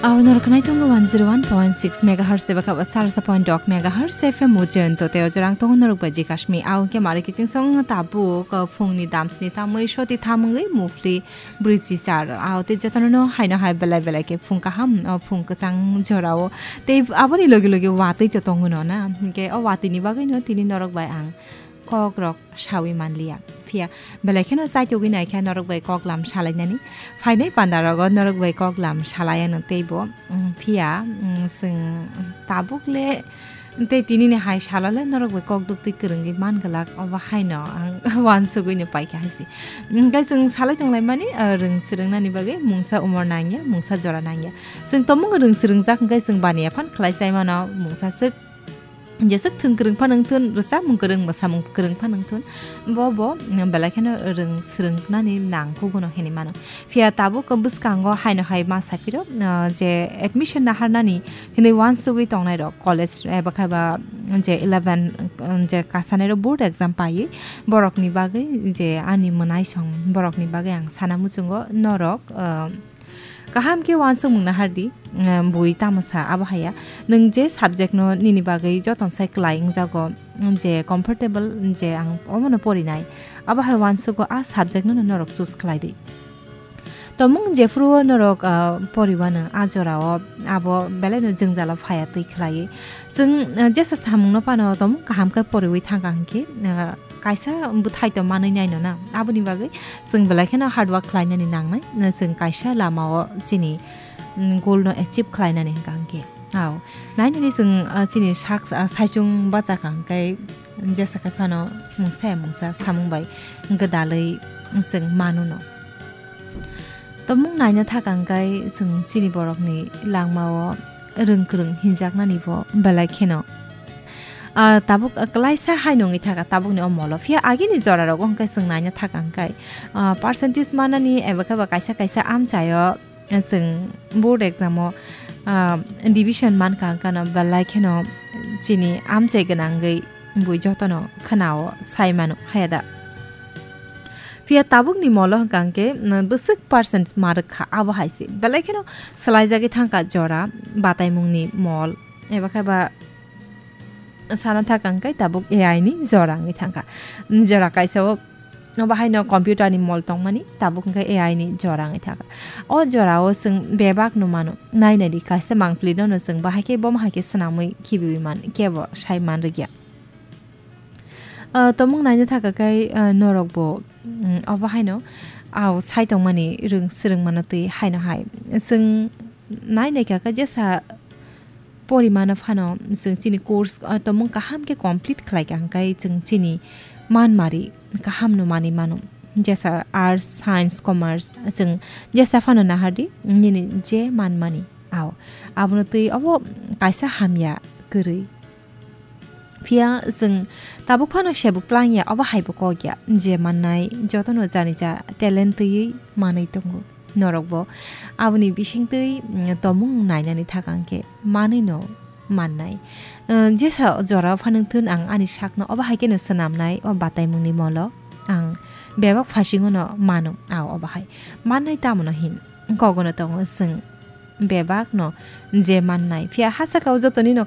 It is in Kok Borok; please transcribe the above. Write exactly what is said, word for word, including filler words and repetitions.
Aw norok khwnai tongo one zero one point six megahertz eba kha ba salsa point dok megahertz F M o Jayanta tei o jorang tongo norok bai Jikashmi. Aw hwnkhe mari kiching song tabuk, uh, phungni damsni tamwi soti tham wngwi muphli brwi chichar. Aw tei jotono no haino hai belai belai khe phung kaham, o phung kwchang jorao. Tei aboni logi logi watwi to tongo no na. Hwnkhe o watwi ni bagwi no tini norok bai ang kok rok sawi manliya. Phiya belai kheno chaitugwi naikha norok bai koklam salainani. Phainai panda rogo norok bai koklam salai ano teibo. Mm, phiya, mm, chwng tabuk le tei tini ni hai salo le norok bai kok duktwi kwrwngwi man glak obo haino ang wansugwi no paikha haisi. Hwnkhe chwng salai tonglaimani, ah, rwng swrwng nani bagwi mungsa umor nangya, mungsa jora nangya. Chwng tomung rwng swrwng jak hwnkhe chwng baniya phan khlai chai mano mungsa swk. Jeswk thwng kwrwng phano wngthun, rwchapmung kwrwng, mwsamung kwrwng phano wngthun, bo bo, mm, belai kheno rwng swrwng nani nang kuguno hinwi mano. Phiya tabuk bwskango haino hai ma saphiro, ah, je admission naharnani hinwi wansugwi tongnai rok college eba khe ba je eleven, mm, je kasanai rok board exam paiwi borokni bagwi je ani mwnaisong borokni bagwi ang sana muchungo norok, ah, Kaham khe uansukmung nahardi, eh, bui tamo sa abo haya. Nwng je subject no nini bagwi joton sai kwlai wngjago, je comfortable je ang omono porinai, abo hai uansugo a subject no norok choose khlai di. Tomung jephuru o norok, ah, poriwano a jorao abo belai no jwngjalo phaya twi khlaiwi. Chwng, ah, jesa samung no phano tomung kaham khe poriwi thangkha hinkhe, ah, kaisa bwthai to manwi naino na. Aboni bagwi chwng belai kheno hard work khlainani nangnai. Chwng kaisa lamao chini, mm, goal no achieve khlainani hwnkha hinkhe. Ao, nainani chwng, ah, chini sak, ah, saichung bachakha hinkhe jesa khe phano mungsa ya mungsa samung bai gwdalwi chwng manuno. Tomung naina thaka hinkhe chwng chini borokni langmao rwng kwrwng hinjaknani bo belai kheno. Ah, tabuk, ah, klaisa haino wngwi thaka tabukni o molo. Phiya agini jora rogo hwnkhe chwng naina thaka hinkhe, ah, percentage manani eba khe ba kaisa kaisa amchaio, ah, chwng board exam o, ah, division mankha hwnkhe no belai kheno chini amchai gwnangwi bui jotono khwnao sai mano haya da. Phiya tabukni molo hwnkha hinkhe, mm, bwswk percent ma rwkha abo hai se. Belai kheno swlaijagwi thangkha jora bataimungni mol. Eba khe ba sana thaka hinkhe tabuk A I ni jora wngwi thangkha. Mm, jora kaisa o, obo haino computer ni mol tongmani, tabuk hinkhe A I ni jora wngwi thangkha. O jora o chwng bebak no mano. Nai nai di kaisa mangpili no no chwng bahai khe bomo hai khe swnamwi khibiwi man kebo sai man rwkya. Ah, tomung naina thaka khe, ah, norok bo, mm, obo haino, ah, sai tongmani rwng swrwng mano twi haino hai. Chwng nai nai kha khe jesa porimano phano chwng chini course, ah, tomung kaham khe complete khlai kha hwnkhe chwng chini manmari kaham no manwi mano. Jesa arts, science, commerce chwng jesa phano nahardi nini je manmani. Ao, abono twi obo kaisa hamya kwrwi. Phiya chwng tabuk phano sebuk tlang ya, obo hai bo kok ya, je mannai jotono jani ja talent twiwi manwi tongo. Norok bo aboni bising twi, mm, tomung nainani thaka hinkhe manwi no mannai. Uh, jesa jora phano thun ang ani sakno obo hai kheno swnamnai, o bataimungni molo ang bebak phasingo no mano, ao obo hai mannai tamo no hin kogono tongo chwng. Bebak no je mannai. Phiya ha saka o jotoni no